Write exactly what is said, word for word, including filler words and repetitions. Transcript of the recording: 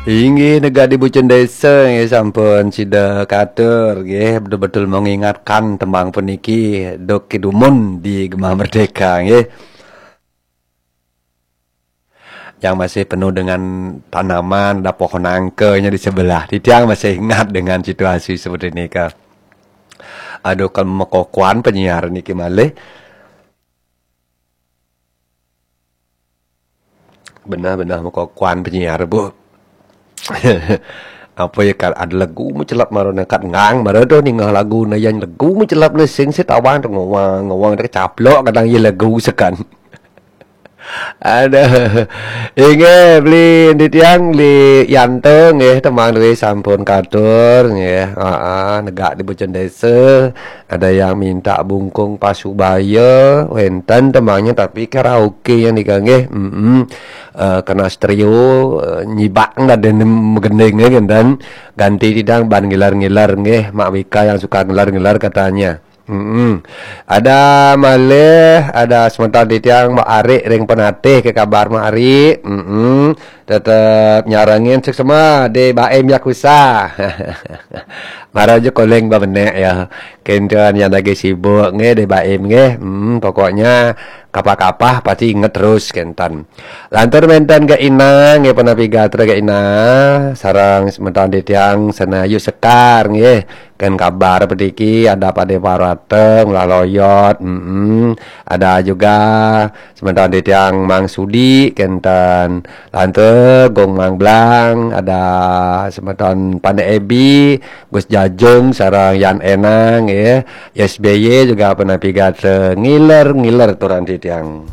Inggih, negak di Bucun Desa, nggih, sampun sida katur, nggih, betul-betul mengingatkan tembang puniki, duk kidumun di Gema Merdeka, nggih. Yang masih penuh dengan tanaman, ada pohon nangkanya di sebelah. Titiang masih ingat dengan situasi seperti ini, Kak. Aduh, kalau mekokohan penyiar niki malih. Benar-benar mekokohan penyiar, Bu. Apa ya, kan ada lagu mecelap marana kat ngang, mara tu ningah lagu na yang lagu mecelap na sing sit awang tu ngawang, ngawang tu kecaplok kadang ya lagu sekan. Ada. Inggih, beli di tiang, beli Yanto, nggih, temang duwe sampun katur, nggih. Aa, negak di Bucun Desa, ada yang minta bungkung pasubaya, wenten temangnya tapi karaoke yang dikanggih. Mm-mm. Eh, kena stereo, eh, nyibak nggak ada megending, nggih, dan ganti tidang ban ngiler-ngiler, nggih. Mak Wika yang suka ngiler-ngiler katanya. Mm-mm. Ada malih, ada semeton titiang Mak Arik ring Penatih, ke kabar Mak Arik. Mm-mm. Tetep nyarengin seksama di Baim Yakuza. Mara aja koleng ba benek ya. Kenten yang lagi sibuk nggih di Baim nggih. Hmm, pokoknya kapah-kapah pasti inget terus kenten. Lantur menten ke Ina nggih, penapi gatra ke Ina, sareng semeton titiang Senayu Sekar nggih. Ken kabar pediki ada Pade Parwata, Ngulah Loyot, mm-mm. Ada juga semeton titiang Mang Sudi, kenten lantur Gong Mang Blang, ada semeton Pande Ebi, Gus Jajung, sareng Yan Enang, ya. S B Y juga penapi gatra ngiler-ngiler turan titiang.